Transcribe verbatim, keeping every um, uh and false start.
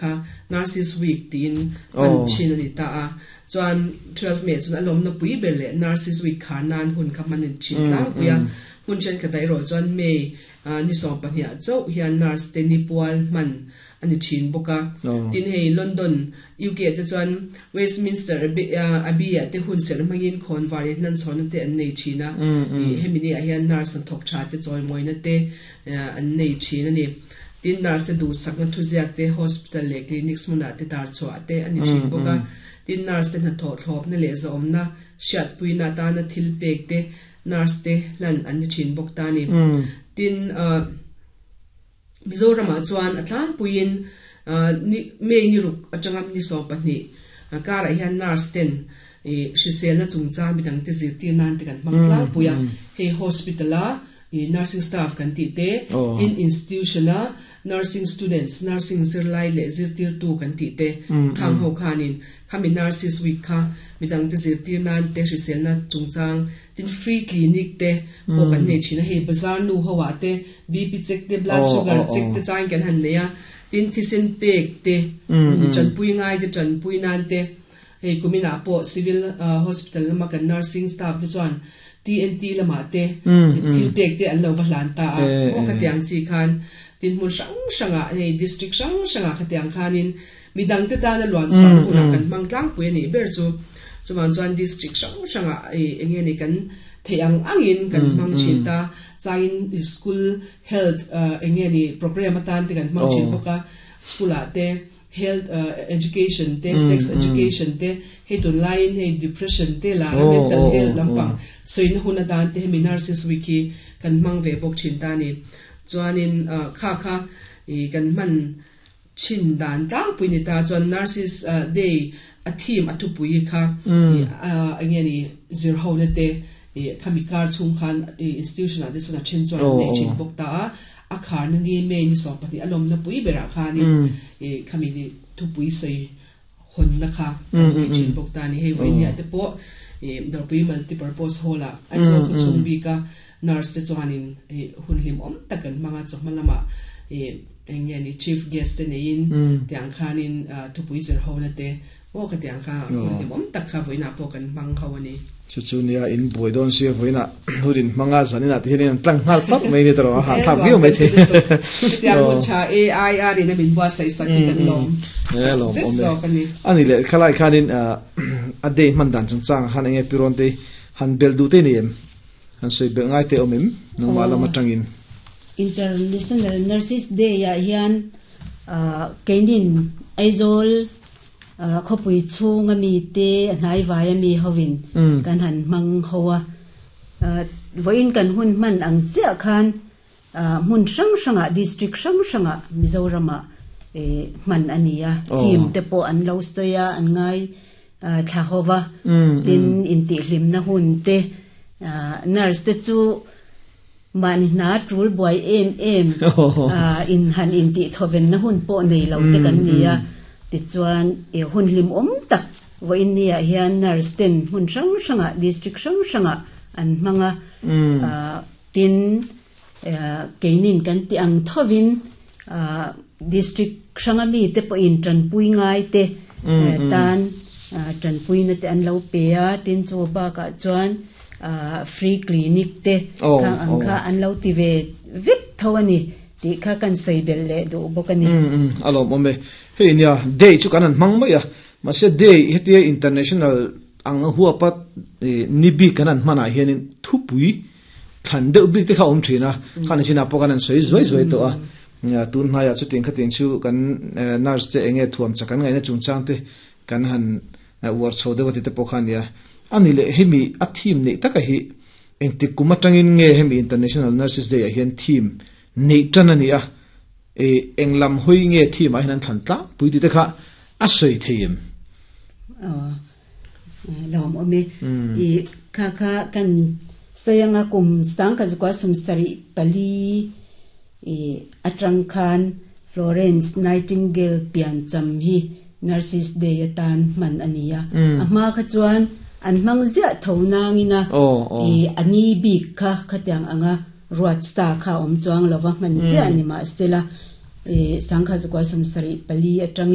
Kha Nurses Week tiin hman thin a ni ta a, chuan twelve May chuan a lawmna pui ber leh Nurses Week khar nan hun kha hman a ni thin tlangpui a. Hmun thenkhatah erawh chuan May ni sawm pahnih ah chauh hian nurse te ni pual hman a ni thin bawk a. Tin hei London, U K ah te chuan Westminster Abbey ah te hun serh hmangin khawnvar in hlanchhawnna te an nei thin a. Hemi ni ah hian nurse hnathawk tha te chawimawina te an nei thin a ni. Tin nurse te duhsakna thuziak te hospital leh clinics hmunah te tar chhuah te a ni thin bawk a. Tin nurse te hnathawh thlawpna leh zawmna hriatpuina atana thil pek te nurse te hlan an ni thin bawk ta a ni. Tin Mizoramah chuan a tlangpuiin May ni ruk atanga ni sawm pahnih karah hian nurse ten hriselna chungchang midang te zirtir nan te kan hmang tlangpui a. Hei hospital a nursing staff kan tih te, tin institution a nursing students, nursing zirlai leh zirtirtu kan tih te khang ho khanin khami Nurses Week kha midang te zirtir nan te hriselna chungchang tin free clinic te pawh kan nei thin a. Hei bazar nu ho ah te B P check te, blood sugar check te changin kan han nei a, tin thisen pek te, tanpui ngai te tanpui nan te hei kuminah pawh civil hospital lama kan nursing staff te chuan T N T lamah te thil pek te an lo va hlan ta a, maw khatiang chi khan tin hmun hrang hrangah hei district hrang hrangah khatiang khanin midang te tana luan chhuahna hunah kan hmang tlangpui a nih ber chu. Chuvang chuan district hrang hrangah eng nge ni kan theih ang angin kan hmang thin ta, changin school health eng nge ni program atan te kan hmang thin bawk a, school ah te health education te, sex education te, hei tunlaiin hei depression te lar a mental health lampang sawina hun atan te hemi Nurses Week hi kan hmang ve bawk thin ta a ni. Chuanin kha kha kan hman thin dan tlangpui ni ta chuan Nurses Day a theme a thupui kha eng nge ni zir ho na te khami kar chhung khan institution ah te chuan a then chuan an nei thin bawk ta a, a kharna ni May ni sawm pahnih a lawmna pui berah khanin khami ni thupui sawi hawnna kha an nei thin bawk ta a ni. Hei vawinia te pawh Dawrpui Multipurpose Hall ah Aizawl khaw chhung bika nurse te chuanin hun hlimawm tak an hmang a, chawhma lamah eng nge ni chief guest te neiin tiang khanin thupui zir ho na te maw khatiang kha hun hlimawm tak kha vawiinah pawh kan hmang ho a ni. Chu chu nia in buai dawn sia vawiinah hun in hmang a, zaninah te hian an tlang nghal pap mai ni tawh a, hahthlak viau mai thei. Hetiang hun tha A I R in a min buatsaih sak hi kan lawm zet zawk a ni. A ni leh khalai khanin a day hman dan chungchang ah khan eng nge pi rawn te han belh duh te ni em? Han sawi belh ngai te awm em nangmah lam atangin? International Nurses Day ah hian keinin Aizawl khawpui chhunga mi te a hnaivai a mi hovin kan han hmang ho a. Vawiin kan hun hman ang chiah khan hmun hrang hrangah district hrang hrangah Mizoramah hman a ni a. Theme te pawh an lo sawi a, an ngai thla ho va. Tin intihhlimna hun te nurse te chu mahni hna tul buai em em in han intihthawvenna hun pawh nei lo te kan ni a. Tichuan hun hlimawm tak vawiin ni ah hian nurse ten hmun hrang hrangah district hrang hrangah an hmang a. Tin keinin kan ti ang thovin district hranga mi te pawhin tanpui ngai te tan tanpuina te an lo pe a. Tin chu bakah chuan free clinic te khang ang kha an lo ti ve vek tho a ni tih kha kan sawi belh leh duh bawk a ni. A lawm awm e. Hei nia day chu kan han hmang mai a, mahse day hetia international ang huapa ni bik kan han hmanah hianin thupui thlan deuh bik te kha awm thin a, khan chinah pawh kan han sawi zuai zuai tawh a. Tun hnaiah chutiang khatiang chu kan nurse te enge thuam chak an ngaihna chungchang te kan han uar chho deuh a ti te pawh kha a nia. A ni leh hemi a theme neih taka hi engtik kum atangin nge hemi International Nurses Day ah hian theme neih tan a ni a, eng lam hawi nge theme ah hian an thlan tlangpui tih te kha a sawi thei em? Lawm awm e. I kha kha kan sawi anga kum sangkhat zakua sum sarih pali i atang khan Florence Nightingale piancham hi Nurses Day atan hman a ni a. A hma kha chuan an hmang ziah tho nangina i a ni bik kha khatiang anga ruat sa kha awm chuang lova hman ziah ni mahsela E sangkha zakwa samsari pali atangin